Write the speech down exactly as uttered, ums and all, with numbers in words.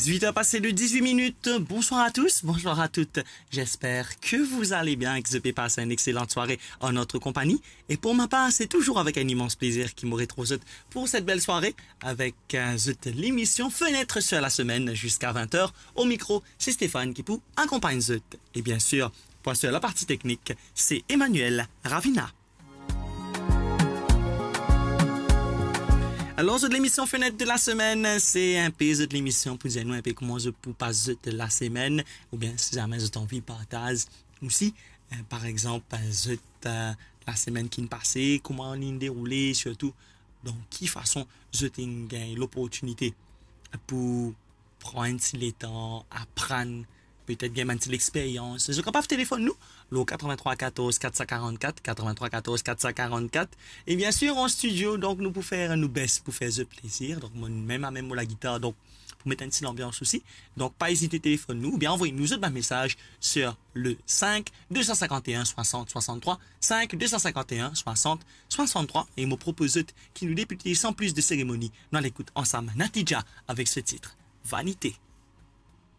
Dix-huit heures passées de dix-huit minutes. Bonsoir à tous, bonsoir à toutes. J'espère que vous allez bien et que zot pe passe une excellente soirée en notre compagnie. Et pour ma part, c'est toujours avec un immense plaisir ki mo retrouv zot pour cette belle soirée avec, euh, zot l'émission Fenêtre sur la semaine jusqu'à vingt heures. Au micro, c'est Stéphane ki pou akonpagn zot. Et bien sûr, pour assurer la partie technique, c'est Emmanuel Ravina. Alor, zot lemision Fenêtre sur la semaine, se inpe zot lemision pou dir nou inpe kouma zot pou pas zot lasemenn, oubien si zame zot anvi partaz osi, eh, par exanp, zot, eh, lasemenn ki pase, kouma li deroule, sirtou dan ki fason zot inn gagn loportinite pou pran enn ti letan, aprann, petet gagn enn ti lexperyans. Zot kapav telefonn nou, le quatre-vingt-trois quatorze quatre cent quarante-quatre, quatre-vingt-trois quatorze quatre cent quarante-quatre. E bien sûr, an studio, donk nou pou fer nou best pou fer zot plezir. Donk mwa mem, mem mo lagitar, donk pou met enn ti lanbians osi. Donk pa ezite telefonn nou, oubien anvoy nou zot bann mesaz sur le cinq deux cent cinquante et un soixante soixante-trois, cinq deux cent cinquante et un soixante soixante-trois. E mo propoz zot ki nou debite san plis de seremoni, nou al ekout ansam Natija avek se tit Vanité.